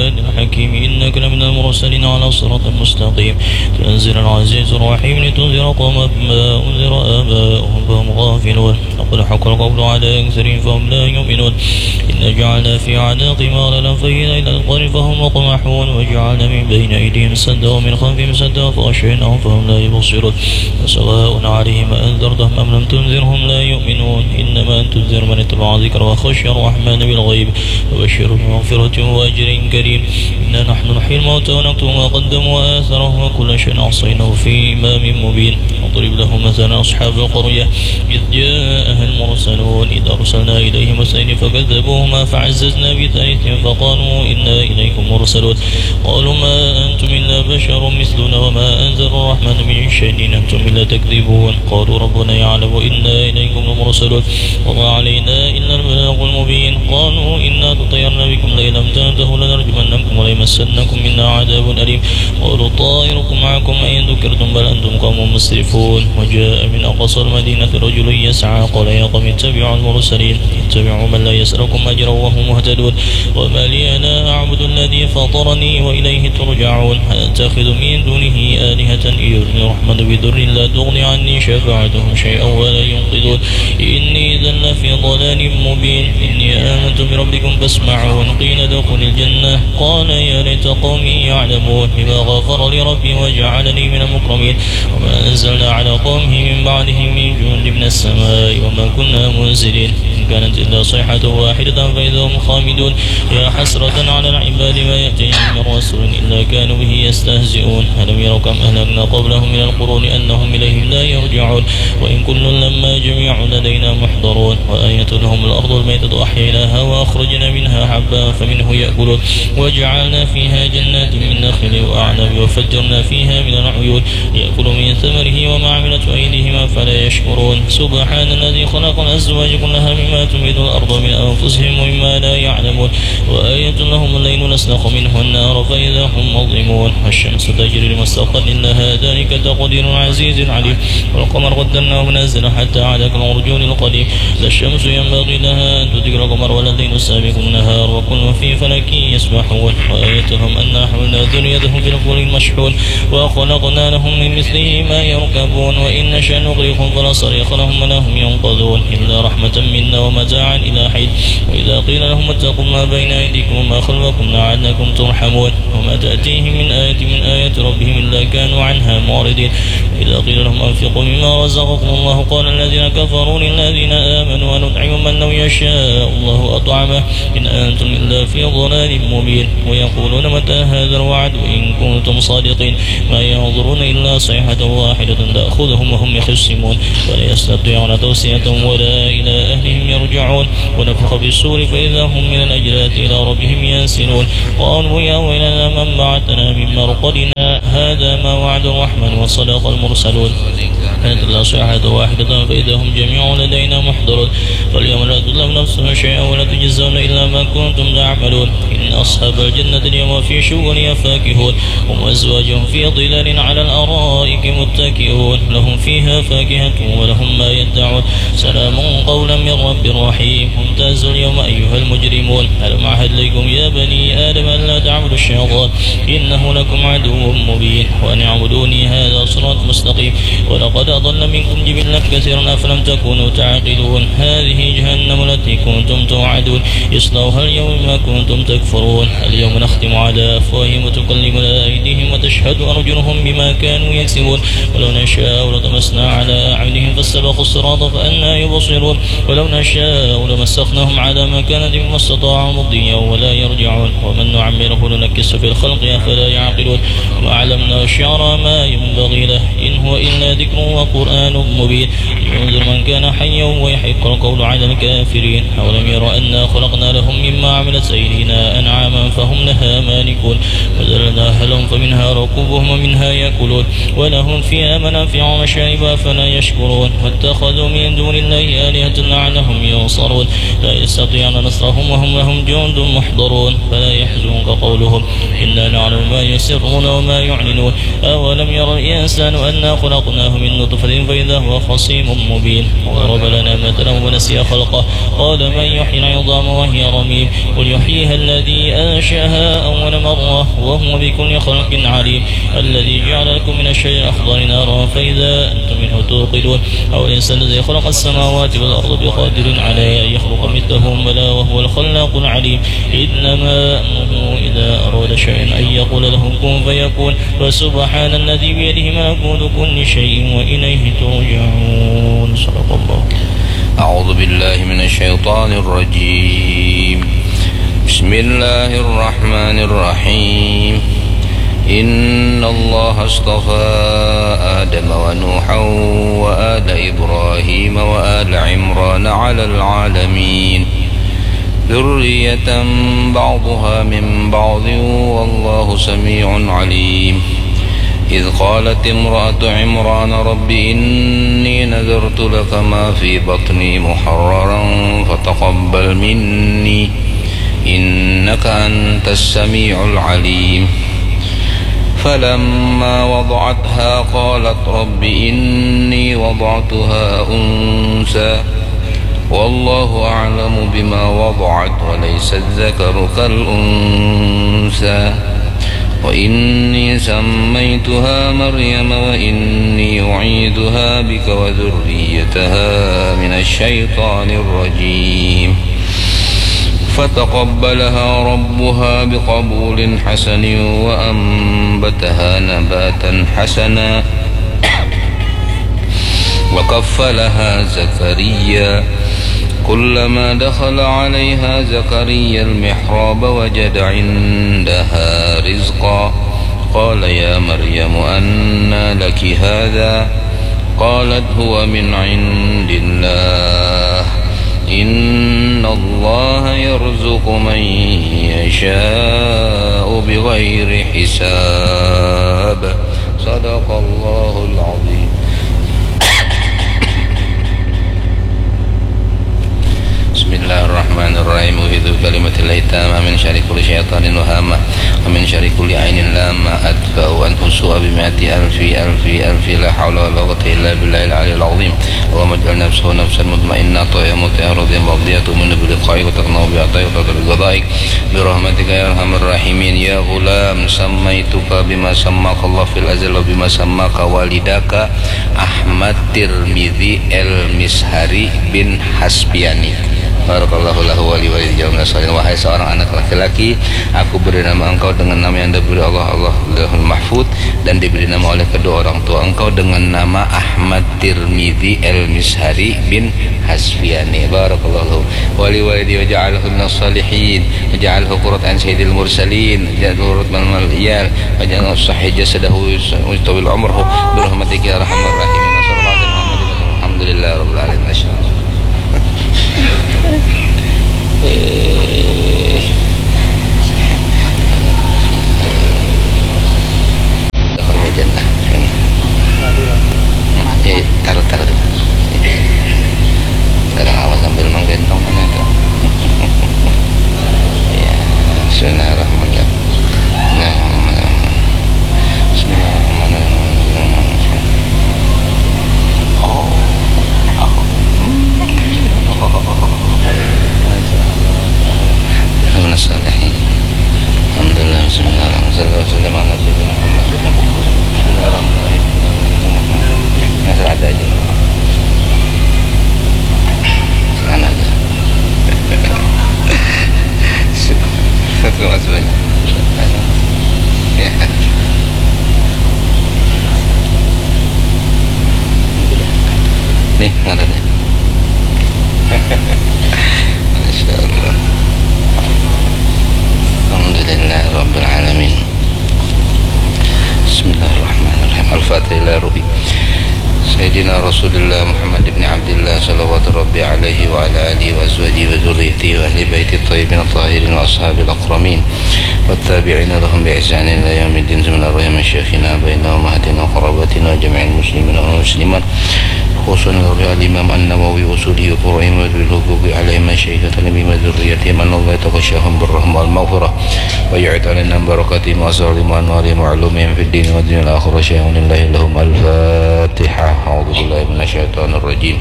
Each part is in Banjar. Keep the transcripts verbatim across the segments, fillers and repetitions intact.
الحكيم إنك لمن المرسلين على صراط مستقيم تنزيل العزيز الرحيم لتنذر قوما ما أنذر آباؤهم فهم غافلون لقد حق القول على أكثرهم فهم لا يؤمنون إنا جعلنا في أعناقهم أغلالا فهي إلى الأذقان فهم مقمحون وجعلنا من بين أيديهم سدا ومن خلفهم سدا فأغشيناهم فهم لا يبصرون سواء عليهم أأنذرتهم أم لم تنذرهم لا يؤمنون إنما أنت تنذر من اتبع الذكر وخشي الرحمن بالغيب فبشره بمغفرة وأجر كريم إنا نحن نحيي الموتى ونكتب ما قدموا وآثارهم وكل شيء أحصيناه في إمام مبين واضرب لهم مثلا أصحاب القرية إذ جاءها المرسلون إذ أرسلنا إليهم اثنين فكذبوهما فعززنا بثالث فقالوا إنا إليكم مرسلون قالوا ما أنتم إلا بشر مثلنا وما أنزل الرحمن من شيء إن أنتم إلا تكذبون قالوا ربنا يعلم إنا إليكم لمرسلون وما علينا إلا البلاغ المبين قالوا إنا تطيرنا بكم لئن لم تنتهوا لنرجمنكم وليمسنكم منا عذاب أليم قالوا طائركم معكم أئن ذكرتم بل أنتم قوم مسرفون وجاء من أقصى المدينة رجل يسعى قال يا قوم اتبعوا المرسلين اتبعوا من لا يسألكم أجرا وهم مهتدون وما لي لا أعبد الذي فطرني وإليه ترجعون أتخذ من دونه آلهة إن يردني الرحمن بضر لا تغن عني شفاعتهم شيئا ولا ينقذون إني إذا لفي ضلال مبين إني آمنت بربكم فاسمعون قيل ادخل الجنة قال يا ليت قومي يعلمون بما غفر لي ربي وجعلني من المكرمين وما أنزلنا على قومه من بعده من جند من السماء وما كنا منزلين إن كانت إلا صيحة واحدة فإذا هم خامدون يا حسرة على العباد ما يأتيهم من رسول إلا كانوا به يستهزئون ألم يروا كم أهلكنا قبلهم من القرون أنهم إليهم لا يرجعون وإن كل لما جميع لدينا محضرون وآية لهم الأرض الميتة أحييناها وأخرجنا منها حبا فمنه يأكلون وجعلنا فيها جنات من نخيل وأعناب وفجرنا فيها من العيون يأكلوا من ثمره وما عملته أيديهم أفلا يشكرون سبحان الذي خلق الأزواج كلها مما تنبت الأرض من أنفسهم ومما لا يعلمون وآية لهم الليل نسلخ منه النهار فإذا هم مظلمون والشمس تجري لمستقر لها ذلك تقدير العزيز العليم والقمر قدرناه منازل حتى عاد كالعرجون القديم لا الشمس ينبغي لها أن تدرك القمر ولا الليل سابق النهار وكل في فلك يسبحون وآية لهم أنا حملنا ذريتهم في الفلك المشحون وخلقنا لهم من مثله ما يركبون وإن نشأ نغرقهم فلا صريخ لهم ولا هم ينقذون إلا رحمة منا ومتاعا إلى حين وإذا قيل لهم اتقوا ما بين أيديكم وما خلفكم لعلكم ترحمون وما تأتيهم من آية من آيات ربهم إلا كانوا عنها معرضين وإذا قيل لهم أنفقوا مما رزقكم الله قال الذين كفروا للذين آمنوا أنطعم من لو يشاء الله أطعمه إن أنتم إلا في ضلال مبين ويقولون متى هذا الوعد إن كنتم صادقين ما ينظرون إلا صيحة واحدة تأخذهم وهم يخصمون فلا يستطيعون توصية ولا إلى أهلهم يرجعون ونفخ في الصور فإذا هم من الأجداث إلى ربهم ينسلون قالوا يا ويلنا من بعثنا من مرقدنا هذا ما وعد الرحمن وصدق المرسلون كانت إلا صيحة واحدة فإذا هم جميع لدينا محضرون فاليوم لا تظلم نفس شيئا ولا تجزون إلا ما كنتم تعملون إن أصحاب الجنة اليوم في شغل فاكهون هم وأزواجهم في ظلال على الأرائك متكئون لهم فيها فاكهة ولهم ما يدعون سلام قولا من رب رحيم وامتازوا اليوم أيها المجرمون ألم أعهد إليكم يا بني آدم ألا تعبدوا الشيطان إنه لكم عدو مبين وأن اعبدوني هذا صراط مستقيم ولقد أضل منكم جبلا كثيرا أفلم تكونوا تعقلون هذه جهنم التي كنتم توعدون اصلوها اليوم بما كنتم تكفرون اليوم نختم على أفواههم وتكلمنا أيديهم وتشهد أرجلهم بما كانوا يكسبون ولو نشاء لطمسنا على أعينهم فاستبقوا الصراط فأنى يبصرون ولو نشاء لمسخناهم على مكانتهم فما استطاعوا مضيا ولا يرجعون ومن نعمره ننكسه في الخلق أفلا يعقلون وما علمناه الشعر ما ينبغي له إن هو إلا ذكر وقرآن مبين لينذر من كان حيا ويحق القول على الكافرين أولم يروا أنا خلقنا لهم مما عملت أيدينا أنعاما فهم لها مالكون وذللناهم لهم فمنها ركوبهم ومنها يأكلون ولهم فيها منافع ومشارب أفلا يشكرون واتخذوا من دون الله آلهة لعلهم ينصرون لا يستطيعون نصرهم وهم لهم جند محضرون فلا يحزنك قولهم إنا نعلم ما يسرون وما يعلنون أولم ير الإنسان أنا خلقناه من نطفة فإذا هو خصيم مبين وضرب لنا مثلا ونسي خلقه قال من يحيي العظام وهي رميم قل يحييها الذي أنشأها أول مرة وهو بكل خلق عليم الذي جعل لكم من الشجر الأخضر نارا فإذا أنتم منه توقدون أو الإنسان الذي خلق السماوات والأرض بقادر على أن يخلق مثلهم بلى وهو الخلاق العليم إنما أمره إذا أراد شيئا أن يقول له كن فيكون فسبحان الذي بيده ملكوت كل شيء وإليه ترجعون صدق الله أعوذ بالله من الشيطان الرجيم بسم الله الرحمن الرحيم إن الله اصطفى آدم ونوحا وآل إبراهيم وآل عمران على العالمين ذرية بعضها من بعض والله سميع عليم إذ قالت امرأة عمران رب إني نذرت لك ما في بطني محررا فتقبل مني إنك أنت السميع العليم فلما وضعتها قالت رب إني وضعتها أنثى والله أعلم بما وضعت وليس الذكر كالأنثى وإني سميتها مريم وإني أعيذها بك وذريتها من الشيطان الرجيم فتقبلها ربها بقبول حسن وأنبتها نباتا حسنا وكفلها زكريا كلما دخل عليها زكريا المحراب وجد عندها رزقا قال يا مريم أنى لك هذا قالت هو من عند الله إن الله يرزق من يشاء بغير حساب صدق الله العظيم بسم الله الرحمن الرحيم أعوذ بكلمة الله التامة من شر كل شيطان وهامة ومن شر كل عين لامة أدفع عنه السوء بمائة ألف ألف ألف لا حول ولا قوة إلا بالله العلي العظيم اللهم اجعل نفسه نفسا مطمئنة طيبة مطيعة راضية مرضية تؤمن بلقائك وتقنع بعطائك وترضى بقضائك برحمتك يا أرحم الراحمين يا غلام سميتك بما سماك الله في الأزل وبما سماك والداك أحمد ترمذي المزهري بن حسبياني بارك الله له ولي والديه وجعلنا صالحين Wahai seorang anak laki-laki, aku beri nama engkau dengan nama yang diberi Allah, Allah Lauhul Mahfud, dan diberi nama oleh kedua orang tua engkau dengan nama Ahmad Tirmidzi Al-Mishari bin Hasbiani. Barakallahu lahu. Wali walidi wa ja'alhu minas salihin. Wa ja'alhu qurrata a'yun sayyidil mursalin. Ja'alhu qurrata mal iyal. Wa ja'alhu sahih jasadahu wa tawil umrahu. Birahmatika ya arhamar rahimin. Wa sallallahu ala Muhammadin. Alhamdulillahi rabbil alamin. Masya Allah. Eh. Dakhalna jannah. Eh, taruh, taruh. Kadang awak sambil menggendong mana itu. Ya, bismillahirrahmanirrahim. Bismillahirrahmanirrahim. Bismillahirrahmanirrahim. Oh. Alhamdulillah, bismillahirrahmanirrahim. Sallallahu alaihi wasallam ala sayyidina Muhammad. Bismillahirrahmanirrahim. Yang serada aja. Sana aja. Satu mas banyak. Ya. Nih, ngarannya. Masya Allah. Alhamdulillah Rabbil Alamin. Bismillahirrahmanirrahim. Al-Fatihah ila ruhi Sayyidina Rasulillah Muhammad ibn Abdillah salawatu rabbi alaihi wa ala alihi wa azwajihi wa dzurriyyatihi wa ahli baiti tayyibin tahirin wa ashabil akramin. والتابعين لهم بإحسان إلى يوم الدين. بسم الله الرحمن الرحيم. شيخنا بين أمهاتنا وقراباتنا وجميع المسلمين والمسلمات، خصوصا الإمام النووي وأصوله وفروعه وذوي الحقوق عليهم، مشايخنا وذريتهم، أن الله يتغشاهم بالرحمة والمغفرة ويعيد علينا بركاتهم وأسرارهم وأنوارهم وعلومهم في الدين والدنيا والآخرة. شيخ لله لهم. الفاتحة. أعوذ بالله من الشيطان الرجيم.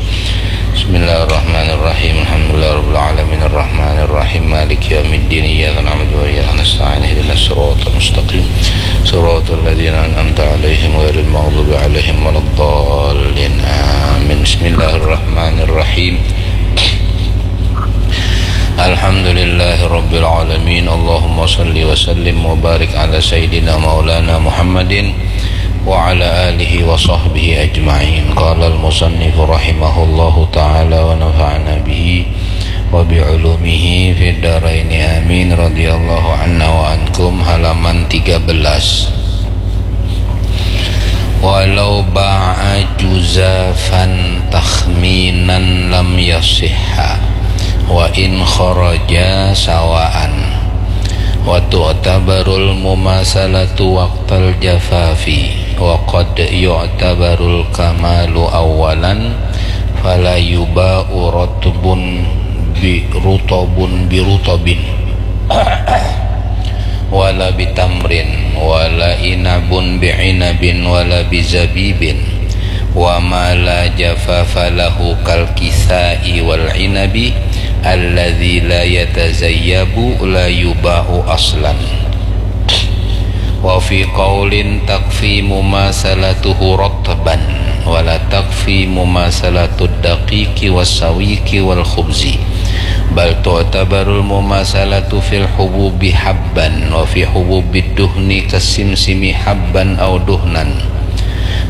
بسم الله الرحمن الرحيم. الحمد لله رب العالمين. الرحمن الرحيم. مالك يوم الدين. إياك نعبد وإياك نستعين. اهدنا الصراط المستقيم. صراط الذين أنعمت عليهم غير المغضوب عليهم ولا الضالين. آمين. بسم الله الرحمن الرحيم. الحمد لله رب العالمين. اللهم صل وسلم وبارك على سيدنا مولانا محمد وعلى آله وصحبه أجمعين. قال المصنف رحمه الله تعالى ونفعنا به وبعلومه في الدارين آمين. رضي الله عنا وعنكم. Halaman tiga belas. Walau ba'a juzafan takhminan lam yasihha, wa in kharaja sawaan, wa tu'tabarul mumasalatu waqtal jafafi, wa qad yu'tabarul kamalu awwalan, fala yuba'u ratbun bi rutabun bi rutabin, wala bi tamrin, wala inabun bi inabin, wala bi zabibin, wa ma la jafafa lahu kal kisai wal inabi alladzi la yatazayyabu la yuba'u aslan. Wa fi qaulin takfi mumasalatuhu ratban, wa la takfi mumasalatud daqiqi was sawiqi wal khubzi, bal tu'tabarul mumasalatu fil hububi habban, wa fi hububid duhni kasimsimi habban au duhnan,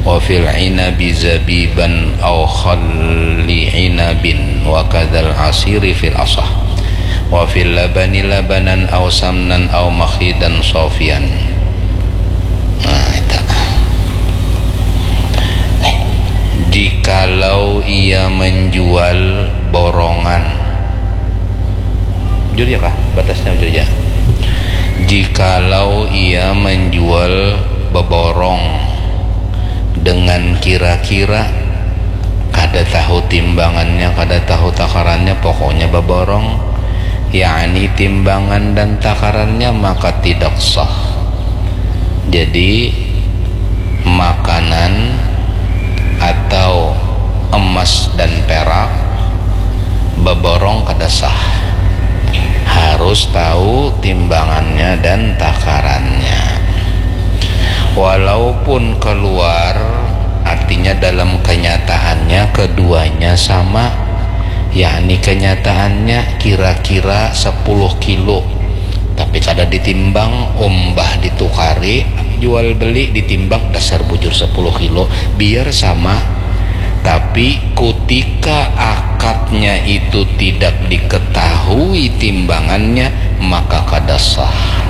wa fil inabi zabiban au khalli inabin, wa kadzal asiri fil asah, wa fil labani labanan au samnan au makhidan sofian. Nah, itu. Jikalau ia menjual borongan, jujur ya kah? Batasnya jujur ya. Jikalau ia menjual beborong dengan kira-kira, kada tahu timbangannya, kada tahu takarannya, pokoknya beborong, yakni timbangan dan takarannya, maka tidak sah. Jadi, makanan atau emas dan perak beborong kada sah. Harus tahu timbangannya dan takarannya. Walaupun keluar, artinya dalam kenyataannya keduanya sama, yakni kenyataannya kira-kira sepuluh kilo, tapi kada ditimbang, umbah ditukari, jual beli ditimbang, dasar bujur sepuluh kilo, biar sama. Tapi kutika akadnya itu tidak diketahui timbangannya, maka kada sah.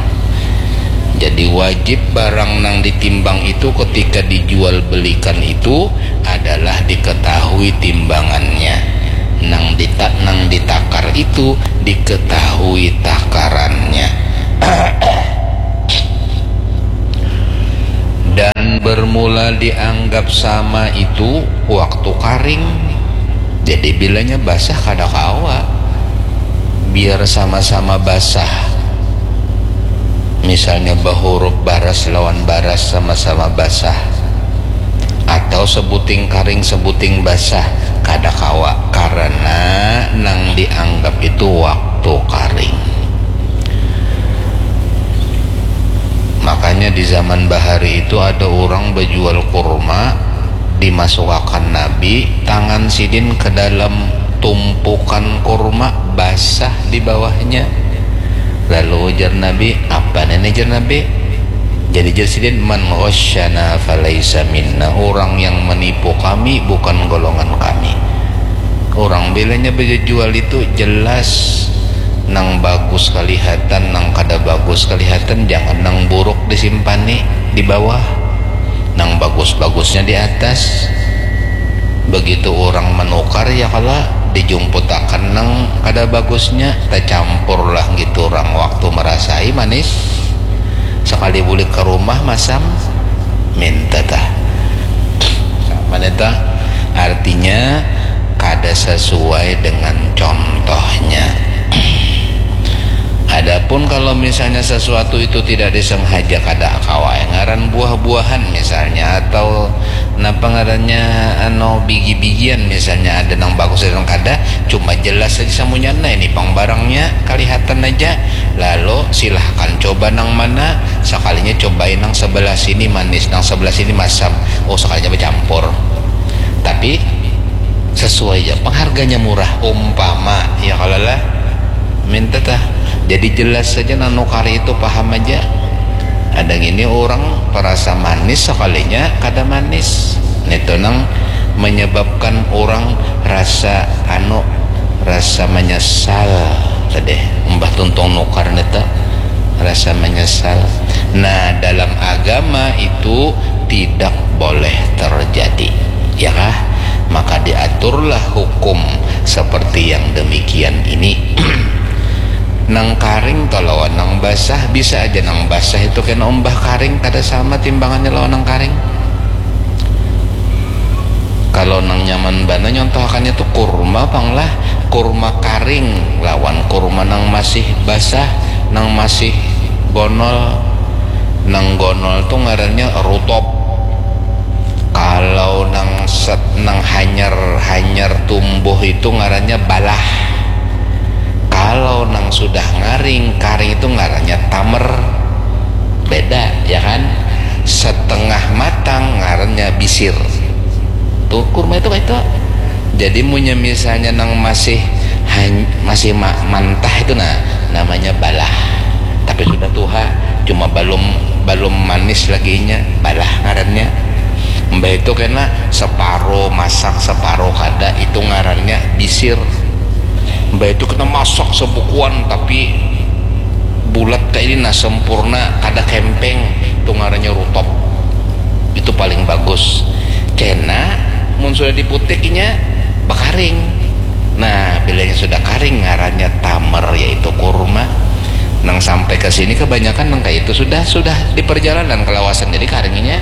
Jadi, wajib barang nang ditimbang itu ketika dijual belikan itu adalah diketahui timbangannya. Nang dita-, nang ditakar itu diketahui takarannya. Dan bermula dianggap sama itu waktu karing. Jadi, bilanya basah kada kawa. Biar sama-sama basah. Misalnya, bahuruf baras lawan baras sama-sama basah. Atau sebuting karing, sebuting basah. Kada kawa. Karena nang dianggap itu waktu karing. Makanya di zaman bahari itu ada orang bejual kurma, dimasukakan Nabi tangan sidin ke dalam tumpukan kurma basah di bawahnya. Lalu ujar Nabi, "Apa ini?" ujar Nabi. Jadi jar sidin, "Man ghasyana falaisa minna." Orang yang menipu kami bukan golongan kami. Orang bilanya bejual itu jelas nang bagus kelihatan, nang kada bagus kelihatan, jangan nang buruk disimpani di bawah, nang bagus-bagusnya di atas. Begitu orang menukar, ya kala, dijumputakan nang kada bagusnya, tercampur lah gitu orang waktu merasai manis. Kali bulik ke rumah masam minta tah. Sama nih tah. Artinya kada sesuai dengan contohnya. Adapun kalau misalnya sesuatu itu tidak disengaja, kada kawa ngaran buah-buahan misalnya, atau napa ngarannya, anu, bigi-bigian misalnya, ada nang bagus ada nang kada, cuma jelas saja samunyana ini pang barangnya kalihatan aja. Lalu silahkan coba nang mana, sekalinya cobai nang sebelah sini manis, nang sebelah sini masam, oh sekalinya bercampur. Tapi sesuai aja pengharganya murah umpama ya kalau lah minta tah. Jadi jelas saja nang nukari itu paham aja. Ada gini orang perasa manis sekalinya kada manis. Itu nang menyebabkan orang rasa anu rasa menyesal tadi. Mbah tuntung nukar nita rasa menyesal. Nah, dalam agama itu tidak boleh terjadi, ya kah? Maka diaturlah hukum seperti yang demikian ini. Nang karing to lawan nang basah, bisa aja nang basah itu kena umbah karing, kada sama timbangannya lawan nang karing. Kalau nang nyaman bana nyontohakannya tuh kurma pang lah, kurma karing lawan kurma nang masih basah, nang masih gonol. Nang gonol tuh ngarannya rutop. Kalau nang set nang hanyar hanyar tumbuh itu ngarannya balah. Kalau nang sudah ngaring karing itu ngarannya tamer. Beda ya kan? Setengah matang ngarannya bisir. Tuh kurma itu itu. Jadi munya misalnya nang masih masih mantah itu nah namanya balah. Tapi sudah tuha, cuma belum belum manis lagi inya, balah ngarannya. Mbah itu kena separo masak separo kada, itu ngarannya bisir. Mbah itu kena masak sebukuan tapi bulat kayak ini nah sempurna, kada kempeng, itu ngarannya rutop. Itu paling bagus. Kena mun sudah diputik inya bakaring. Nah, bilanya sudah karing ngarannya tamer yaitu kurma. Nang sampai ke sini kebanyakan nang kayak itu sudah sudah di perjalanan kelawasan jadi karingnya.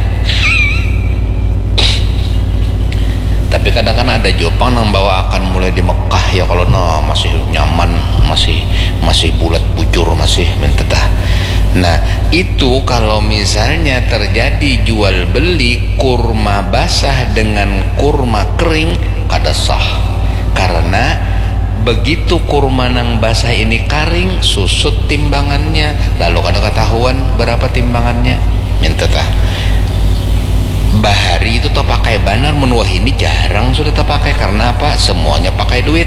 Tapi kadang kan ada jopang nang bawa akan mulai di Mekah ya kalau nah masih nyaman, masih masih bulat bujur masih minta tah. Nah, itu kalau misalnya terjadi jual beli kurma basah dengan kurma kering kada sah. Karena begitu kurma nang basah ini karing, susut timbangannya, lalu kada ketahuan berapa timbangannya. Minta tah. Bahari itu terpakai banar, mun wahini jarang sudah terpakai. Karena apa? Semuanya pakai duit.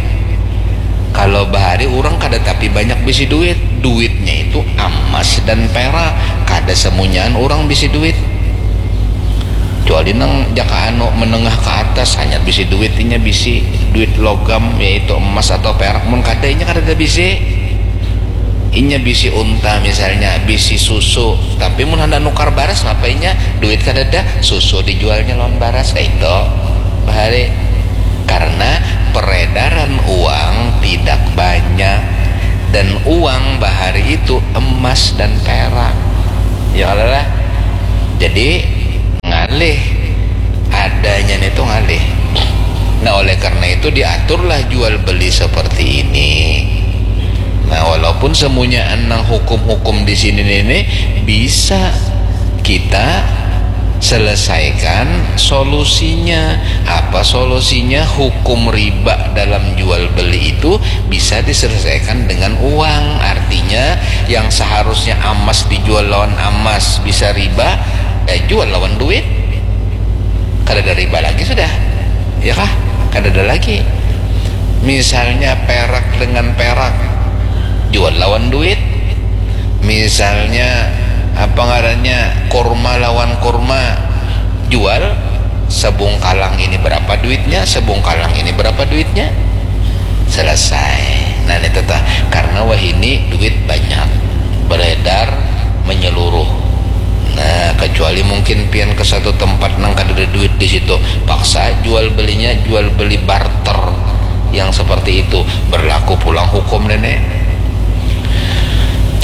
Kalau bahari orang kada tapi banyak bisi duit. Duitnya itu emas dan perak. Kada semunyaan orang bisi duit. Kecuali nang jaka anu menengah ke atas hanya bisi duit inya bisi duit logam yaitu emas atau perak, mun kada inya kada ada bisi. Inya bisi unta misalnya, bisi susu, tapi mun hendak nukar baras napa inya duit kada ada, susu dijualnya lawan baras kayak itu bahari. Karena peredaran uang tidak banyak dan uang bahari itu emas dan perak. Ya kalau lah. Jadi ngalih adanya itu ngalih. Nah, oleh karena itu diaturlah jual beli seperti ini. Nah, walaupun semuanya enang hukum-hukum di sini ini bisa kita selesaikan solusinya. Apa solusinya? Hukum riba dalam jual beli itu bisa diselesaikan dengan uang. Artinya yang seharusnya emas dijual lawan emas bisa riba, eh, jual lawan duit. Kada ada riba lagi sudah. Ya kah? Kada ada lagi. Misalnya perak dengan perak jual lawan duit. Misalnya apa ngarannya kurma lawan kurma jual, sebungkalang ini berapa duitnya, sebungkalang ini berapa duitnya, selesai. Nah, ini tetap karena wahini duit banyak beredar menyeluruh. Nah, kecuali mungkin pian ke satu tempat nang kada ada duit di situ, paksa jual belinya jual beli barter yang seperti itu berlaku pulang hukum nenek.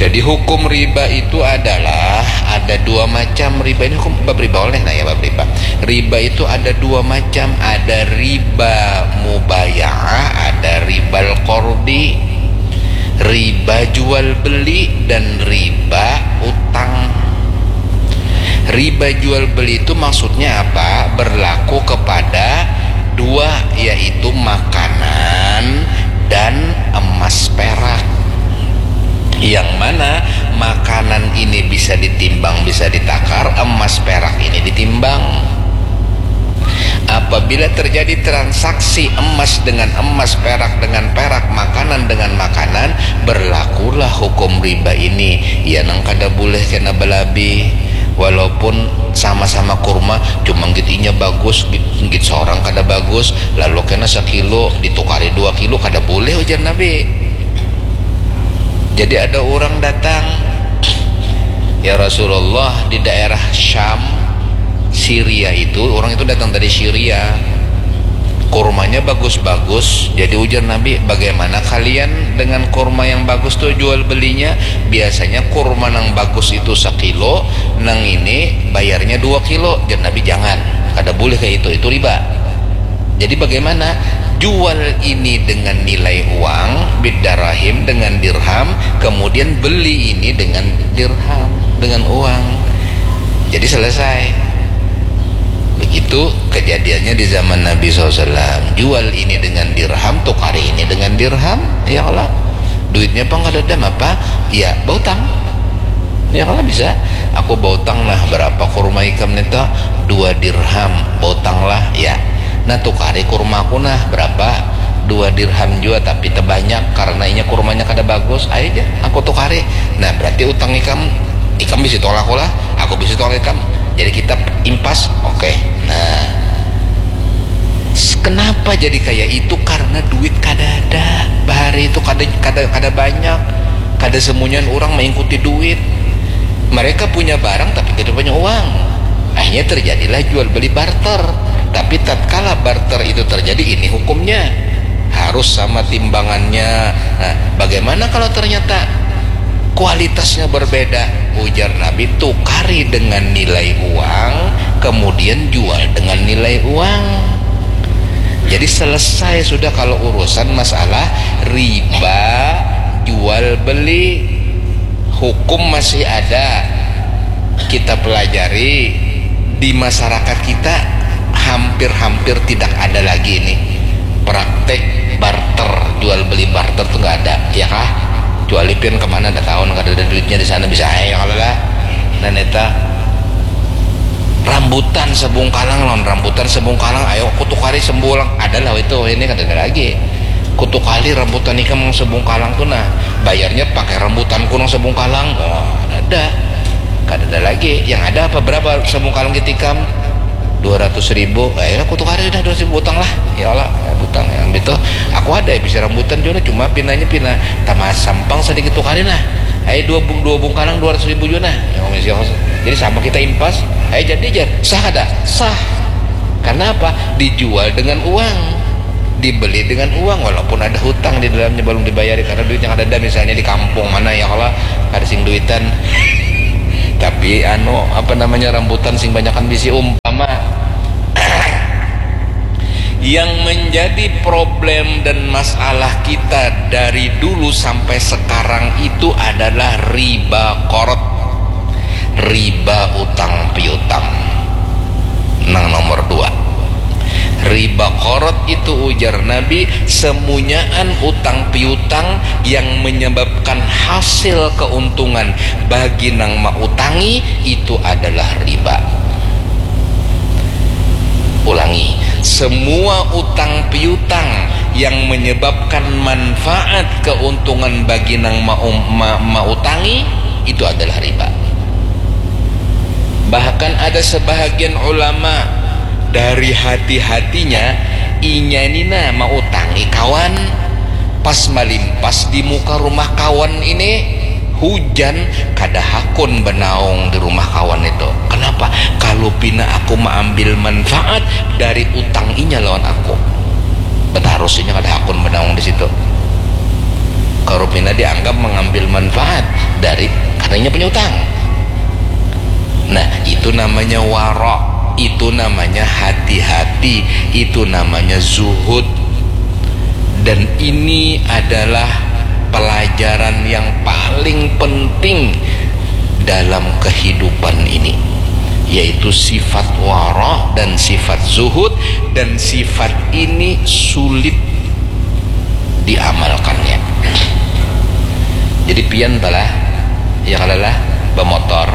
Jadi hukum riba itu adalah ada dua macam riba. Ini hukum bab riba oleh nah ya, bab riba. Riba itu ada dua macam, ada riba mubayaah, ada ribal kordi, riba jual beli dan riba utang. Riba jual beli itu maksudnya apa? Berlaku kepada dua, yaitu makanan dan emas perak. Yang mana makanan ini bisa ditimbang, bisa ditakar, emas perak ini ditimbang. Apabila terjadi transaksi emas dengan emas, perak dengan perak, makanan dengan makanan, berlakulah hukum riba ini. Ya nang kada boleh kena balabi, walaupun sama-sama kurma, cuma git inya bagus, git, git seorang kada bagus, lalu kena sekilo ditukari dua kilo, kada boleh ujar Nabi. Jadi ada orang datang, "Ya Rasulullah, di daerah Syam, Syria itu, orang itu datang dari Syria. Kurmanya bagus-bagus." Jadi ujar Nabi, "Bagaimana kalian dengan kurma yang bagus tuh jual belinya? Biasanya kurma nang bagus itu sekilo, nang ini bayarnya dua kilo." Ujar Nabi, "Jangan, kada boleh kayak itu, itu riba." Jadi bagaimana? Jual ini dengan nilai uang, bidarahim, dengan dirham, kemudian beli ini dengan dirham, dengan uang. Jadi selesai. Begitu kejadiannya di zaman Nabi sallallahu alaihi wasallam. Jual ini dengan dirham, tukari ini dengan dirham. Ya Allah. Duitnya pang kadada, apa? Ya, bautang. Ya, kalau bisa. "Aku bautang nah berapa kurma ikam nita?" "Dua dirham." "Bautang lah, ya. Nah, tukari kurma aku nah berapa?" "Dua dirham jua, tapi tebanyak karena inya kurmanya kada bagus." "Ayo ja, aku tukari." "Nah, berarti utang ikam, ikam bisi tolak aku lah, aku bisi tolak ikam. Jadi kita impas." Oke. Nah, kenapa jadi kayak itu? Karena duit kada ada. Bahari itu kada, kada, kada banyak. Kada semuanya orang mengikuti duit. Mereka punya barang tapi tidak punya uang. Akhirnya terjadilah jual beli barter. Tapi tatkala barter itu terjadi, ini hukumnya. Harus sama timbangannya. Nah, bagaimana kalau ternyata kualitasnya berbeda? Ujar Nabi, "Tukari dengan nilai uang, kemudian jual dengan nilai uang." Jadi selesai sudah kalau urusan masalah riba jual beli. Hukum masih ada, kita pelajari. Di masyarakat kita hampir-hampir tidak ada lagi ini praktek barter, jual beli barter tuh nggak ada, ya kah? Kecuali pian kemana, ada tahun kada ada duitnya di sana, bisa aja kalau lah. Nah, neta, rambutan sebungkalang lawan rambutan sebungkalang, ayo aku tukari sebungkalang, ada lah itu, ini kada ada lagi. "Kutukari rambutan ikam nang sebungkalang tuh nah, bayarnya pakai rambutanku nang sebungkalang." Oh, ada. Kada ada lagi. Yang ada apa, berapa sebungkalang kitikam? "Dua ratus ribu." "Ayo, aku tukari dah dua ratus ribu, utang lah." "Ya Allah, ya, utang yang itu. Aku ada ya bisa rambutan juga, cuma pinanya pina tamas sampang, sedikit tukari nah. Ayo, dua, dua bungkalang dua ratus ribu juga nah." Ya, jadi sama kita impas. Ayo, jadi aja. Sah ada? Sah. Karena apa? Dijual dengan uang, dibeli dengan uang, walaupun ada hutang di dalamnya belum dibayari karena duitnya kada ada, misalnya di kampung mana ya, kalau kada sing duitan, tapi anu, apa namanya, rambutan sing banyakan bisi, umpama. Yang menjadi problem dan masalah kita dari dulu sampai sekarang itu adalah riba korot, riba utang piutang. Nang nomor dua, riba korot itu, ujar Nabi, semunyaan utang piutang yang menyebabkan hasil keuntungan bagi nang mautangi itu adalah riba. Ulangi, semua utang piutang yang menyebabkan manfaat keuntungan bagi nang mau, ma, mautangi itu adalah riba. Bahkan ada sebahagian ulama dari hati-hatinya, inya ini nah mautangi kawan, pas malimpas di muka rumah kawan ini, hujan, kada hakun banaung di rumah kawan itu. Kenapa? Kalau pina aku maambil manfaat dari utang inya lawan aku, batarus inya kada hakun banaung di situ. Tasawuf ini dianggap mengambil manfaat dari, karena inya punya utang. Nah, itu namanya wara, itu namanya hati-hati, itu namanya zuhud. Dan ini adalah pelajaran yang paling penting dalam kehidupan ini, yaitu sifat wara dan sifat zuhud. Dan sifat ini sulit diamalkannya. Jadi pian balah, ya kalalah, bemotor,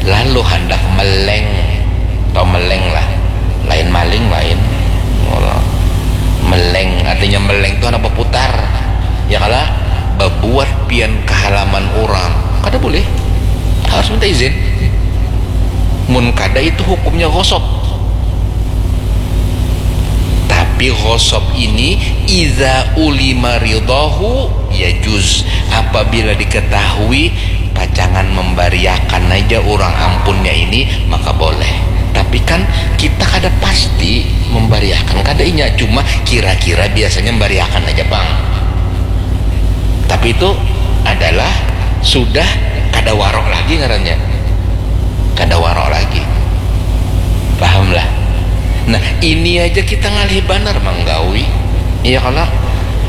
lalu hendak meleng, atau meleng lah, lain maling, lain meleng, artinya meleng itu anak berputar, ya kala, bebuat pian ke halaman orang, kada boleh, harus minta izin. Mun kada, itu hukumnya gosop. Tapi ghosab ini iza ulima ridhahu yajuz, apabila diketahui pacangan membariakan aja orang ampunnya ini, maka boleh. Tapi kan kita kada pasti membariakan, kada inya, cuma kira-kira biasanya membariakan aja bang. Tapi itu adalah sudah kada warok lagi ngarannya, kada warok lagi. Pahamlah? Nah, ini aja kita ngalih banar manggawi. Iya kala?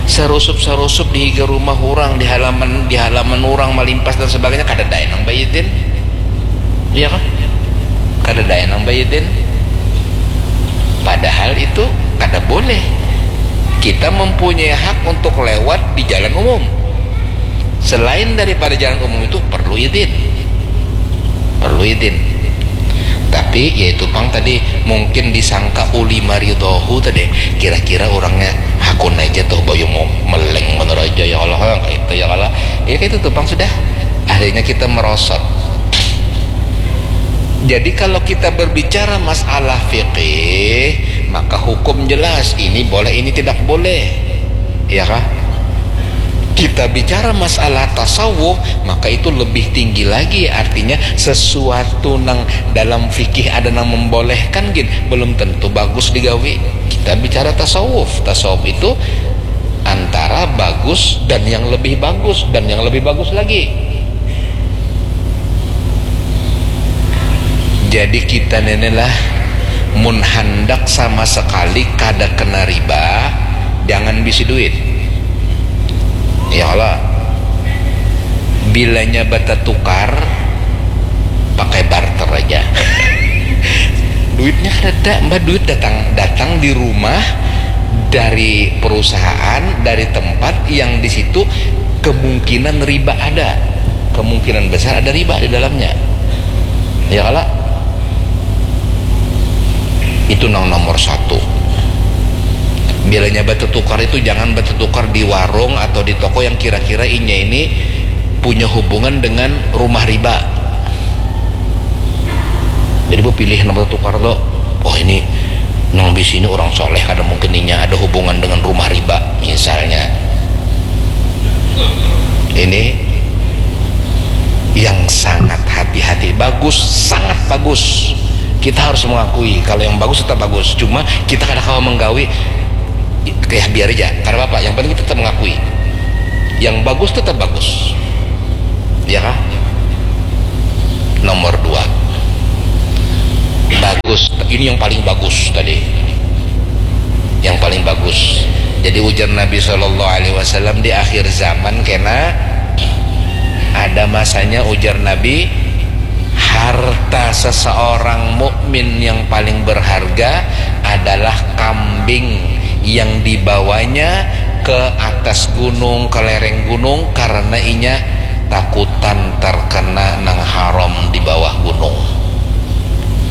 Sarusup-sarusup di higa rumah orang, di halaman, di halaman orang malimpas dan sebagainya, kada daya nang baidin. Iya kah? Kada daya nang baidin. Padahal itu kada boleh. Kita mempunyai hak untuk lewat di jalan umum. Selain daripada jalan umum itu perlu izin. Perlu izin. Tapi yaitu pang tadi mungkin disangka ulima ridhahu tadi. Kira-kira orangnya hakun aja tuh bayu mau meleng bener aja ya Allah, kayak itu ya Allah. Ya kayak itu tuh pang sudah. Akhirnya kita merosot. Jadi kalau kita berbicara masalah fikih, maka hukum jelas ini boleh, ini tidak boleh. Ya kah? Kita bicara masalah tasawuf, maka itu lebih tinggi lagi, artinya sesuatu nang dalam fikih ada nang membolehkan gin, belum tentu bagus digawi. Kita bicara tasawuf, tasawuf itu antara bagus dan yang lebih bagus dan yang lebih bagus lagi. Jadi kita ni lah mun handak sama sekali kada kena riba, jangan bisi duit. Ya Allah. Bilanya batatukar, pakai barter aja. Duitnya kada ada, mbah, duit datang, datang di rumah dari perusahaan, dari tempat yang di situ kemungkinan riba ada, kemungkinan besar ada riba di dalamnya. Ya kala? Itu nang nomor satu. Bilanya batatukar itu jangan batatukar di warung atau di toko yang kira-kira inya ini punya hubungan dengan rumah riba. Jadi bapilih nang batatukar tu, oh ini nang bisi ini orang soleh, kada mungkin inya ada hubungan dengan rumah riba misalnya. Ini yang sangat hati-hati. Bagus, sangat bagus. Kita harus mengakui kalau yang bagus tetap bagus. Cuma kita kada kawa menggawi, kayak biar aja, kada apa-apa. Yang penting kita tetap mengakui yang bagus tetap bagus. Ya kah? Nomor dua, bagus. Ini yang paling bagus tadi, yang paling bagus. Jadi ujar Nabi Shallallahu Alaihi Wasallam, di akhir zaman kena ada masanya, ujar Nabi, harta seseorang mukmin yang paling berharga adalah kambing yang dibawanya ke atas gunung, ke lereng gunung, karena inya takutan terkena nang haram di bawah gunung.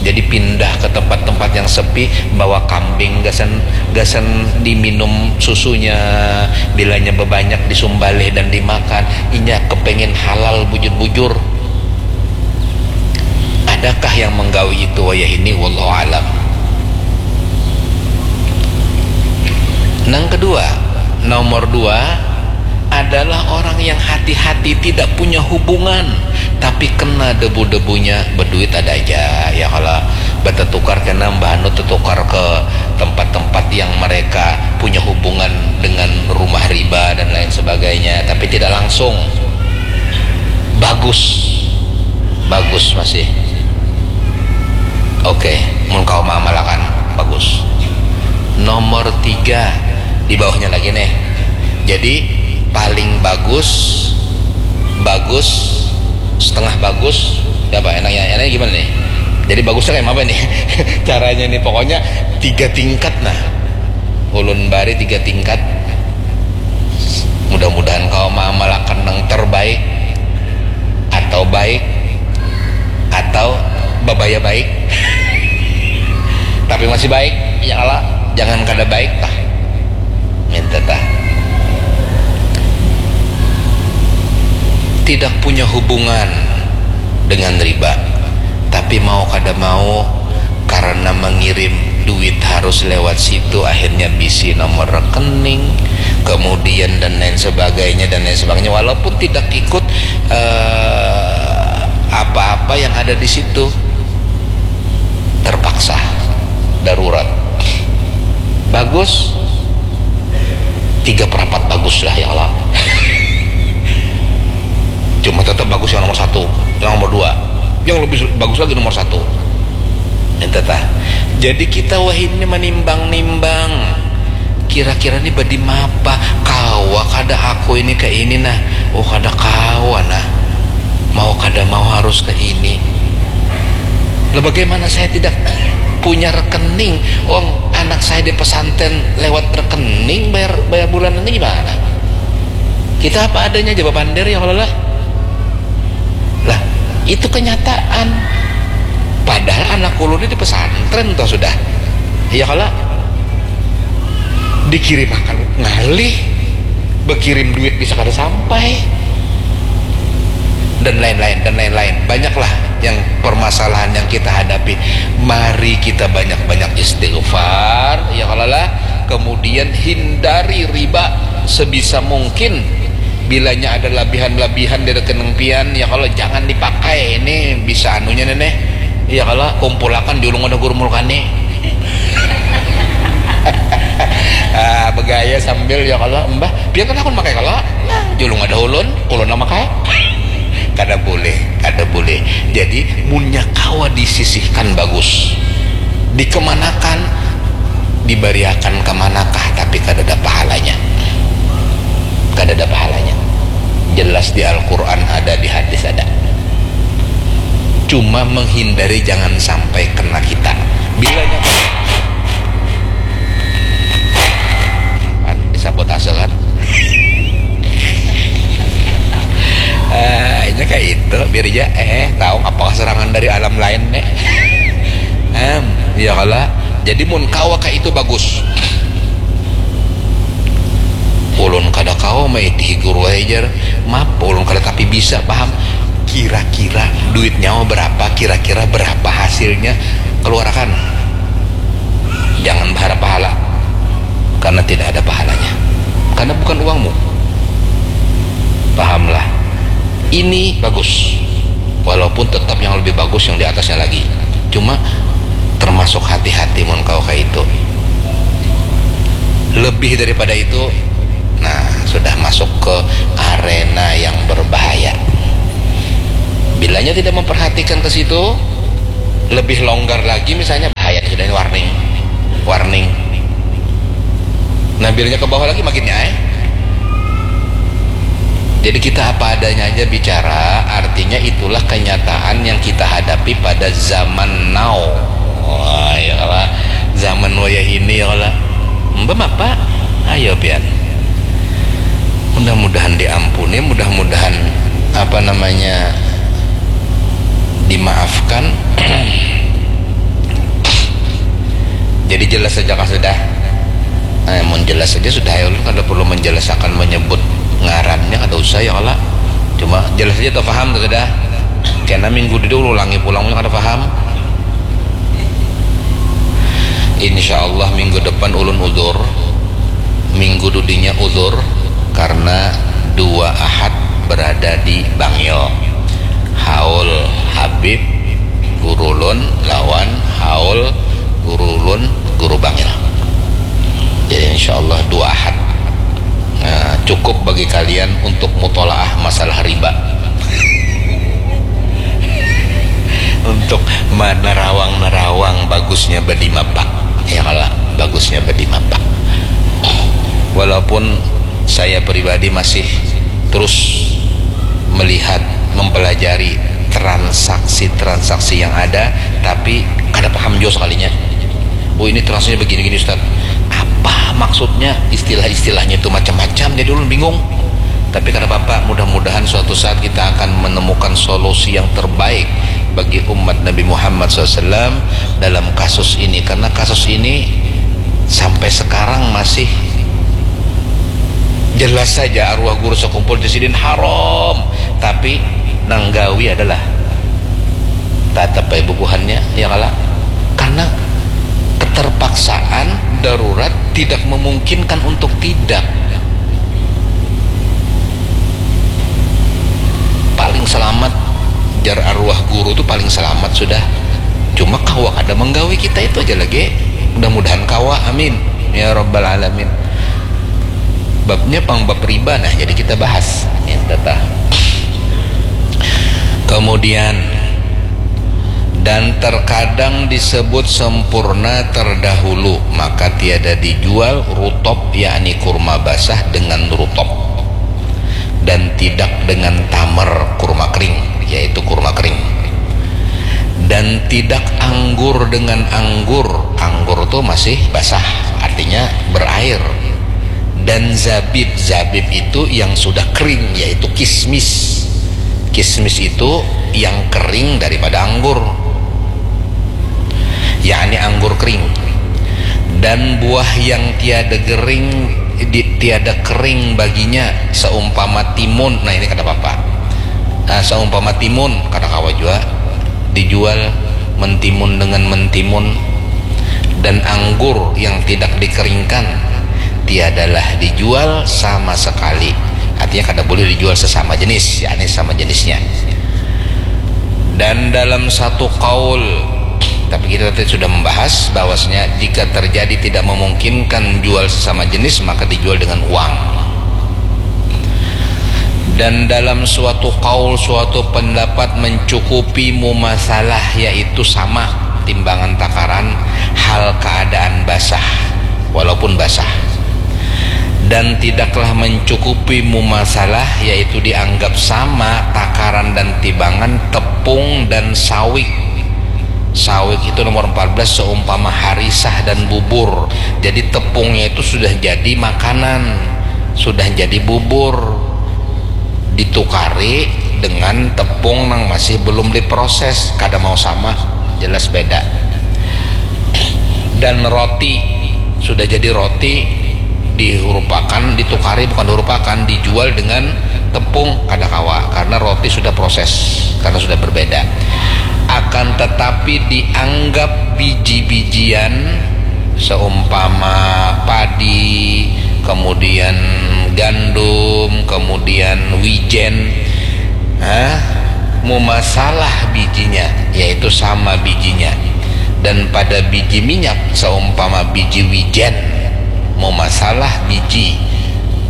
Jadi pindah ke tempat-tempat yang sepi, bawa kambing gasan, gasan diminum susunya, bilanya bebanyak disumbalih dan dimakan. Inya kepengen halal bujur-bujur. Adakah yang menggawi itu wayah ini? Wallahu alam. Nang kedua, nomor dua adalah orang yang hati-hati tidak punya hubungan, tapi kena debu-debunya, berduit ada aja, ya kalau bertetukar kena mbah anu tetukar ke tempat-tempat yang mereka punya hubungan dengan rumah riba dan lain sebagainya, tapi tidak langsung. Bagus, bagus masih. Oke, mun kau maamalakan, bagus. Nomor tiga, di bawahnya lagi nih. Jadi paling bagus, bagus, setengah bagus, ya apa enaknya? Enaknya gimana nih? Jadi bagusnya kayak apa nih? Caranya nih pokoknya tiga tingkat nah. Ulun bari tiga tingkat. Mudah-mudahan kau maamalakan yang terbaik atau baik atau babaya baik. Tapi masih baik, ya Allah, jangan kada baik tah. Minta tah. Tidak punya hubungan dengan riba, tapi mau kada mau karena mengirim duit harus lewat situ, akhirnya bisi nomor rekening, kemudian dan lain sebagainya dan lain sebagainya, walaupun tidak ikut eh, apa-apa yang ada di situ, terpaksa, darurat. Bagus, tiga perapat bagus lah ya Allah. Cuma tetap bagus yang nomor satu, yang nomor dua, yang lebih bagus lagi nomor satu. Ente tah. Jadi kita wahini manimbang-nimbang, kira-kira ni badi mapa, kawa kada aku ini ke ini nah? Oh, kada kawa nah. Mau kada mau harus ke ini. Lah bagaimana saya tidak punya rekening? Uang anak saya di pesantren lewat rekening bayar bayar bulanan ini gimana? Kita apa adanya aja bapander ya kalau lah. Lah, itu kenyataan. Padahal anak ulun ini di pesantren toh sudah. Iya kalau dikirimakan ngalih, bekirim duit bisa kada sampai, dan lain-lain dan lain-lain. Banyaklah yang permasalahan yang kita hadapi. Mari kita banyak-banyak istighfar, ya kalau lah. Kemudian hindari riba sebisa mungkin. Bilanya ada labihan-labihan di rekening pian, ya kalau jangan dipakai, ini bisa anunya nih. Ya kalau kumpulakan julung ada guru mulkani. Ah, begaya sambil ya kalau mbah, pian kan aku makai kalau nah, julung ada ulun, ulun lah makai. Kada boleh, kada boleh. Jadi munnya kawa disisihkan bagus, dikemanakan, dibariakan kemanakah, tapi kada ada pahalanya. Kada ada pahalanya. Jelas di Al-Quran ada, di hadis ada. Cuma menghindari jangan sampai kena kita. Bilanya disabotase kan. Eh, ini kayak itu, biar aja eh tahu apa serangan dari alam lain nih. Em, ya kalau jadi mun kawa kayak itu bagus. Ulun kada kawa maitihi guru ajar. Maaf, ulun kada tapi bisa paham. Kira-kira duit nyawa berapa, kira-kira berapa hasilnya, keluarkan. Jangan berharap pahala, karena tidak ada pahalanya, karena bukan uangmu. Pahamlah. Ini bagus, walaupun tetap yang lebih bagus yang di atasnya lagi. Cuma termasuk hati-hati mun kau kayak itu. Lebih daripada itu, nah, sudah masuk ke arena yang berbahaya. Bilanya tidak memperhatikan ke situ, lebih longgar lagi misalnya, bahaya sudah ini, warning. Warning. Nah, bilanya ke bawah lagi makinnya eh. Jadi kita apa adanya aja bicara, artinya itulah kenyataan yang kita hadapi pada zaman now. Wah, ya lah, zaman wayah ini ya lah. Mbak apa? Ayo pian. Mudah-mudahan diampuni, mudah-mudahan apa namanya dimaafkan. Jadi jelas saja kah sudah? Eh, mun jelas saja sudah ya, ulun kada perlu menjelaskan menyebut ngarannya, kada usah ya kala. Cuma jelas saja tuh paham tuh sudah. Kena minggu dulu ulangi pulang punya kada paham. Insya Allah minggu depan ulun udur. Minggu dudinya udur karena dua ahad berada di Bangil. Haul Habib, guru ulun, lawan haul guru ulun, guru Bangil. Jadi insyaallah dua ahad. Nah, cukup bagi kalian untuk mutolaah masalah riba. Untuk menerawang-nerawang bagusnya badimapa. Ya kala, bagusnya badimapa. Walaupun saya pribadi masih terus melihat, mempelajari transaksi-transaksi yang ada, tapi kada paham jua sekalinya. Oh, ini transaksinya begini-gini, Ustaz. Apa maksudnya? Istilah-istilahnya itu macam-macam, jadi ulun bingung. Tapi kada apa-apa, mudah-mudahan suatu saat kita akan menemukan solusi yang terbaik bagi umat Nabi Muhammad sallallahu alaihi wasallam dalam kasus ini, karena kasus ini sampai sekarang masih jelas saja arwah guru sekumpul di sidin haram, tapi nang gawi adalah tatap bae bubuhannya, ya kala, karena keterpaksaan, darurat, tidak memungkinkan untuk tidak. Paling selamat, jar arwah guru tu paling selamat sudah. Cuma kawa kada menggawi kita itu aja lagi. Mudah-mudahan kawa, amin ya rabbal alamin. Babnya pang bab riba, nah, jadi kita bahas. Ya, tata. Kemudian, dan terkadang disebut sempurna terdahulu, maka tiada dijual rutop, yakni kurma basah dengan rutop, dan tidak dengan tamar, kurma kering, yaitu kurma kering, dan tidak anggur dengan anggur. Anggur tu masih basah, artinya berair. Dan zabib, zabib itu yang sudah kering, yaitu kismis. Kismis itu yang kering daripada anggur, yakni anggur kering. Dan buah yang tiada gering, di, tiada kering baginya, seumpama timun. Nah, ini kada apa-apa. Nah, seumpama timun, kada kawa jua dijual mentimun dengan mentimun. Dan anggur yang tidak dikeringkan tiadalah dijual sama sekali. Artinya, kada boleh dijual sesama jenis, yakni sama jenisnya. Dan dalam satu kaul, tapi kita tadi sudah membahas bahwasanya jika terjadi tidak memungkinkan jual sesama jenis, maka dijual dengan uang. Dan dalam suatu kaul, suatu pendapat mencukupi mumasalah, yaitu sama timbangan takaran hal keadaan basah, walaupun basah. Dan tidaklah mencukupi mumasalah, yaitu dianggap sama takaran dan timbangan tepung dan sawik. Sawik itu nomor empat belas, seumpama harisah dan bubur. Jadi tepungnya itu sudah jadi makanan, sudah jadi bubur, ditukari dengan tepung nang masih belum diproses, kada mau sama, jelas beda. Dan roti, sudah jadi roti, dihurupakan, ditukari, bukan dihurupakan, dijual dengan tepung, kada kawa, karena roti sudah proses, karena sudah berbeda. Akan tetapi dianggap biji-bijian, seumpama padi, kemudian gandum, kemudian wijen, ah, mumasalah bijinya, yaitu sama bijinya. Dan pada biji minyak, seumpama biji wijen, mumasalah biji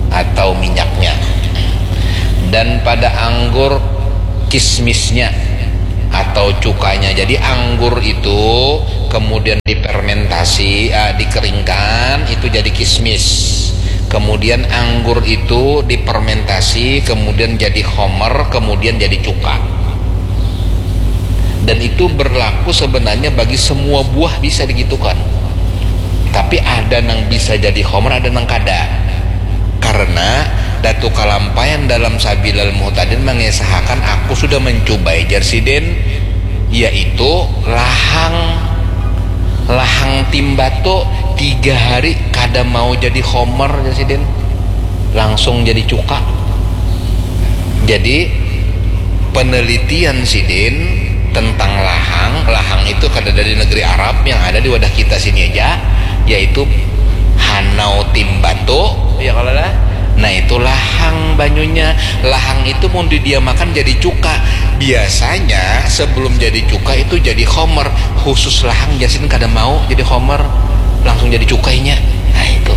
atau minyaknya. Dan pada anggur, kismisnya atau cukanya. Jadi anggur itu kemudian dipermentasi, ah, dikeringkan, itu jadi kismis. Kemudian anggur itu dipermentasi, kemudian jadi khomer, kemudian jadi cuka. Dan itu berlaku sebenarnya bagi semua buah, bisa digitukan. Tapi ada nang bisa jadi khomer, ada nang kada. Karena Datu Kalampayan dalam Sabilal Muhtadin mengisahkan, aku sudah mencubai, jar sidin, yaitu lahang, lahang timbatu tiga hari kada mau jadi khomer, jar sidin, langsung jadi cuka. Jadi penelitian sidin tentang lahang, lahang itu kada dari negeri Arab, yang ada di wadah kita sini aja, yaitu hanau timbatu, ya kalo lah, Nah, itu lahang banyunya. Lahang itu mun didiamakan jadi cuka. Biasanya sebelum jadi cuka itu jadi khomer. Khusus lahang, jasin kada mau jadi khomer, langsung jadi cuka inya. Nah, itu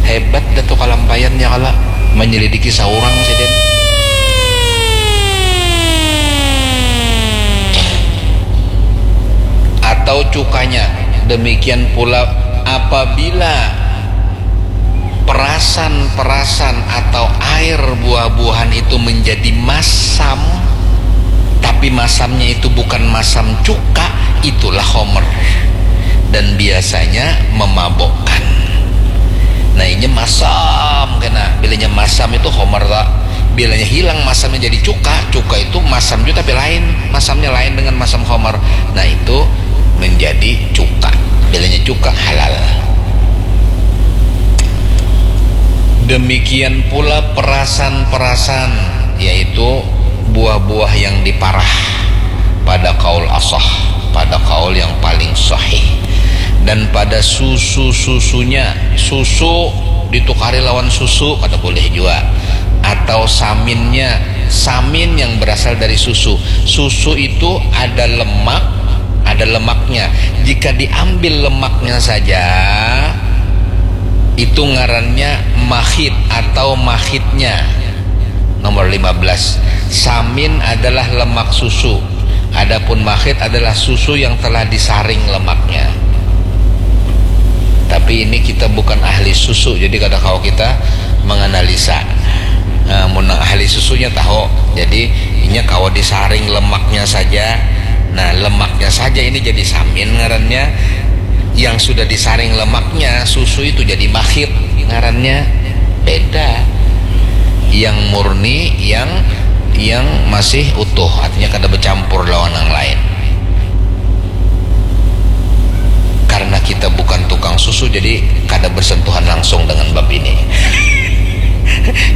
hebat Datu Kalampayan nya kalo menyelidiki saurang sidin. Atau cukanya. Demikian pula apabila perasan-perasan atau air buah-buahan itu menjadi masam, tapi masamnya itu bukan masam cuka, itulah khomer. Dan biasanya memabukkan. Nah, inya masam kena. Bilanya masam itu khomer, tak? Bilanya hilang masamnya jadi cuka, cuka itu masam juga tapi lain. Masamnya lain dengan masam khomer. Nah, itu menjadi cuka. Bilanya cuka, halal. Demikian pula perasan-perasan, yaitu buah-buah yang diparah pada kaul asah, pada kaul yang paling sahih. Dan pada susu-susunya, susu ditukari lawan susu, kada boleh jua. Atau saminnya, samin yang berasal dari susu. Susu itu ada lemak, ada lemaknya. Jika diambil lemaknya saja, itu ngarannya makhit atau makhitnya. Nomor lima belas. Samin adalah lemak susu. Adapun makhit adalah susu yang telah disaring lemaknya. Tapi ini kita bukan ahli susu, jadi kada kawa kita menganalisa. Nah, mun nang ahli susunya tahu. Jadi, inya kawa disaring lemaknya saja. Nah, lemaknya saja ini jadi samin ngarannya. Yang sudah disaring lemaknya, susu itu jadi makhit ngarannya. Beda. Yang murni, yang yang masih utuh, artinya kada bercampur lawan yang lain. Karena kita bukan tukang susu, jadi kada bersentuhan langsung dengan bab ini.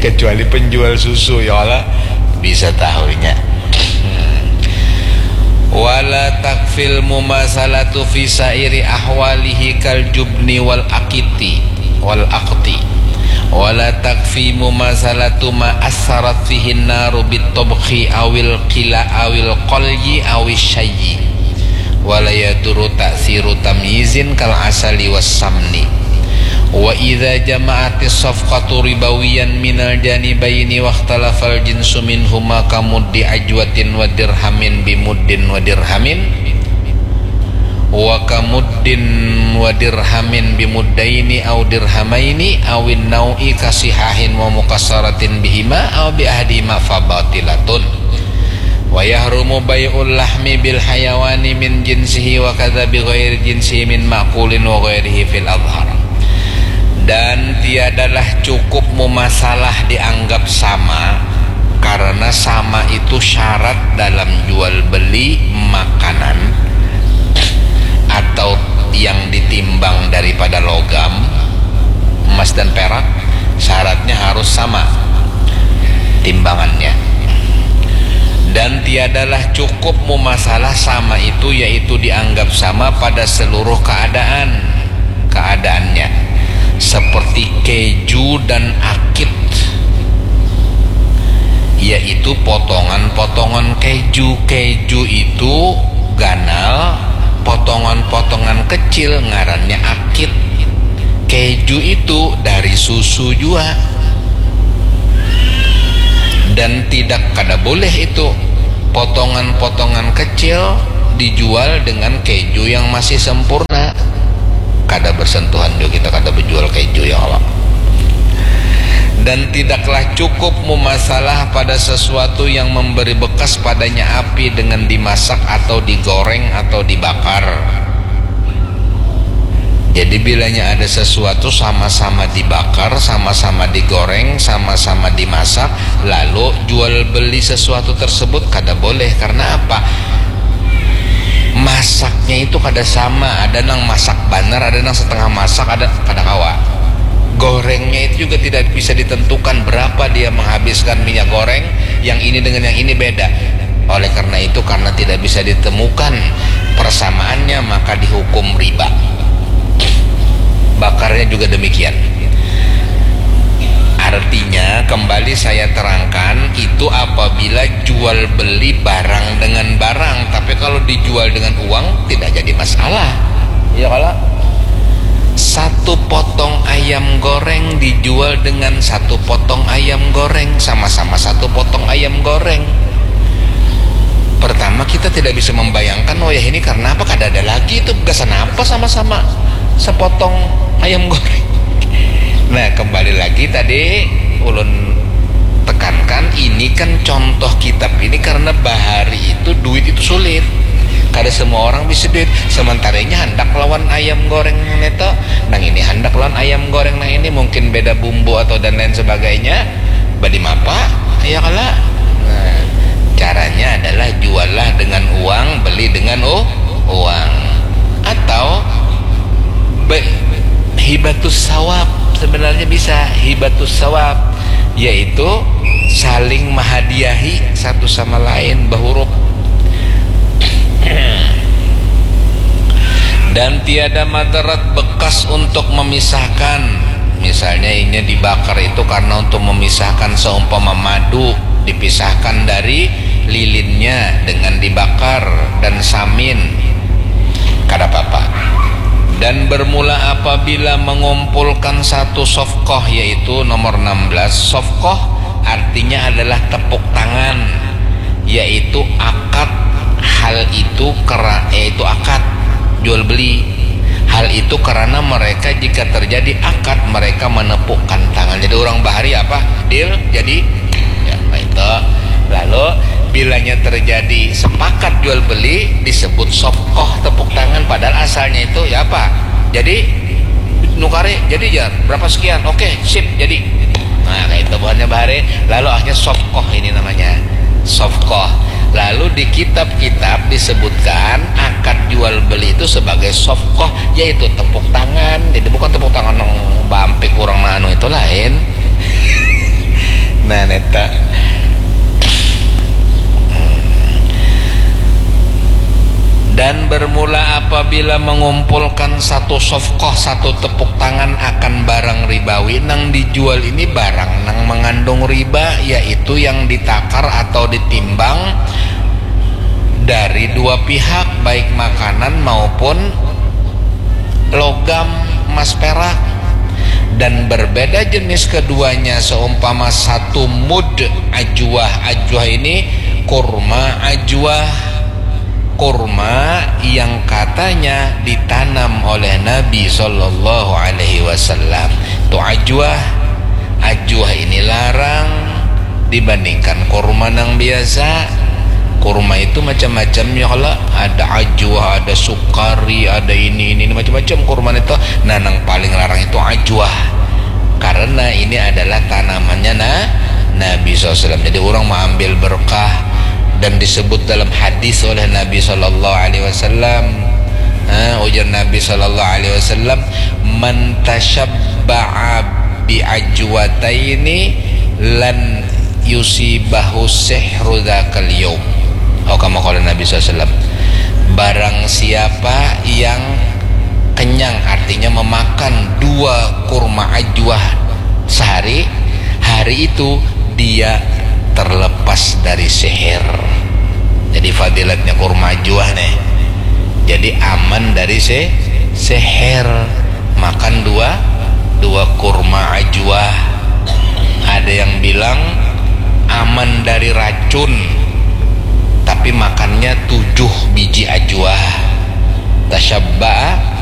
Kecuali penjual susu, ya Allah, bisa tahunya. Hmm. Wala takfil mumasalatu fi sairi ahwalihi kal jubni wal akiti, wal akti. Wala takfi mumasalatu ma assarat fihin naru bit tobkhi awil kila awil kolyi awis syayyi. Wala yaduru ta'siru tamyizin kal asali was samni. Wa idza jama'atis safqatu ribawiyan minal janibaini wakhtalafal jinsu minhuma kamuddi ajwatin wa dirhamin bimuddin wa dirhamin, wa kamuddin wa dirhamin bimuddaini au dirhamaini awin nau'i kasihahin wa mukassaratin bihima au bi ahadihima fabatilatun. Wa yahrumu bai'ul lahmi bil hayawani min jinsihi wa kadza bi ghairi jinsihi min ma'kulin wa ghairihi fil adhar. Dan tiadalah cukup mumasalah dianggap sama, karena sama itu syarat dalam jual beli makanan atau yang ditimbang daripada logam, emas dan perak, syaratnya harus sama timbangannya. Dan tiadalah cukup mumasalah sama itu, yaitu dianggap sama pada seluruh keadaan, keadaannya, seperti keju dan akit, yaitu potongan-potongan keju. Keju itu ganal, potongan-potongan kecil ngarannya akit. Keju itu dari susu jua. Dan tidak, kada boleh itu potongan-potongan kecil dijual dengan keju yang masih sempurna. Kada bersentuhan jua kita, kada berjual keju, ya Allah. Dan tidaklah cukup mumasalah pada sesuatu yang memberi bekas padanya api dengan dimasak atau digoreng atau dibakar. Jadi, bilanya ada sesuatu sama-sama dibakar, sama-sama digoreng, sama-sama dimasak, lalu jual beli sesuatu tersebut, kada boleh. Karena apa? Masaknya itu kada sama, ada nang masak banar, ada nang setengah masak, ada, kada kawa. Gorengnya itu juga tidak bisa ditentukan berapa dia menghabiskan minyak goreng, yang ini dengan yang ini beda. Oleh karena itu, karena tidak bisa ditemukan persamaannya, maka dihukum riba. Bakarnya juga demikian. Artinya, kembali saya terangkan, itu apabila jual beli barang dengan barang. Tapi kalau dijual dengan uang, tidak jadi masalah. Iya kalau satu potong ayam goreng dijual dengan satu potong ayam goreng, sama-sama satu potong ayam goreng. Pertama, kita tidak bisa membayangkan, oh ya, ini karena apa, kada ada lagi itu, gasan apa sama-sama sepotong ayam goreng. Nah, kembali lagi tadi ulun tekankan, ini kan contoh kitab ini karena bahari itu duit itu sulit. Kada semua orang bisa duit. Sementaranya handak lawan ayam goreng neto, nang ini handak lawan ayam goreng, nang ini mungkin beda bumbu atau dan lain sebagainya. Badi mapa? Ya kala. Nah, caranya adalah juallah dengan uang, beli dengan u-, uang. Atau be-, hibatus sawab, sebenarnya bisa hibatus sawab, yaitu saling menghadiahi satu sama lain, bahuruk. Dan tiada madarat bekas untuk memisahkan. Misalnya, inya dibakar itu karena untuk memisahkan, seumpama madu dipisahkan dari lilinnya dengan dibakar dan samin, kada apa-apa. Dan bermula apabila mengumpulkan satu sofkoh, yaitu nomor enam belas. Sofkoh artinya adalah tepuk tangan, yaitu akad hal itu kera-, yaitu akad jual beli. Hal itu karena mereka, jika terjadi akad, mereka menepukkan tangan. Jadi, orang bahari apa? Deal, jadi. Ya, apa itu? Lalu, bilanya terjadi sepakat jual beli, disebut sofkoh, tepuk tangan, padahal asalnya itu ya apa? Jadi, nukari, jadi ya, berapa sekian? Oke, sip, jadi. Nah, kayak itu buhannya bahari. Lalu akhirnya sofkoh ini namanya. Sofkoh. Lalu di kitab-kitab disebutkan akad jual beli itu sebagai sofkoh, yaitu tepuk tangan. Jadi bukan tepuk tangan nang bampik orang anu itu, lain. Nah, neta. Dan bermula apabila mengumpulkan satu sofkoh, satu tepuk tangan akan barang ribawi, nang dijual ini barang nang mengandung riba, yaitu yang ditakar atau ditimbang dari dua pihak, baik makanan maupun logam, emas perak. Dan berbeda jenis keduanya, seumpama satu mud ajwah. Ajwah ini kurma ajwah. Kurma yang katanya ditanam oleh Nabi Shallallahu Alaihi Wasallam. Itu ajwah. Ajwah ini larang dibandingkan kurma nang biasa. Kurma itu macam-macam ya kala, ada ajwah, ada sukari, ada ini, ini, ini macam-macam kurma itu. Nah, nang paling larang itu ajwah, karena ini adalah tanamannya na-, Nabi sallallahu alaihi wasallam. Jadi, orang mengambil berkah, dan disebut dalam hadis oleh Nabi sallallahu alaihi wasallam. Ha, ujar Nabi sallallahu alaihi wasallam, "Man tasyabba'a bi ajwataini lan yusibahu sihru dzakal yaum." Atau kama qala Nabi sallallahu alaihi wasallam, barang siapa yang kenyang, artinya memakan dua kurma ajwah sehari, hari itu dia terlepas dari sihir. Jadi, fadilatnya kurma ajwah nih. Jadi, aman dari si-, sihir. Makan dua, dua kurma ajwah. Ada yang bilang aman dari racun, tapi makannya tujuh biji ajwah. Tasyabba'a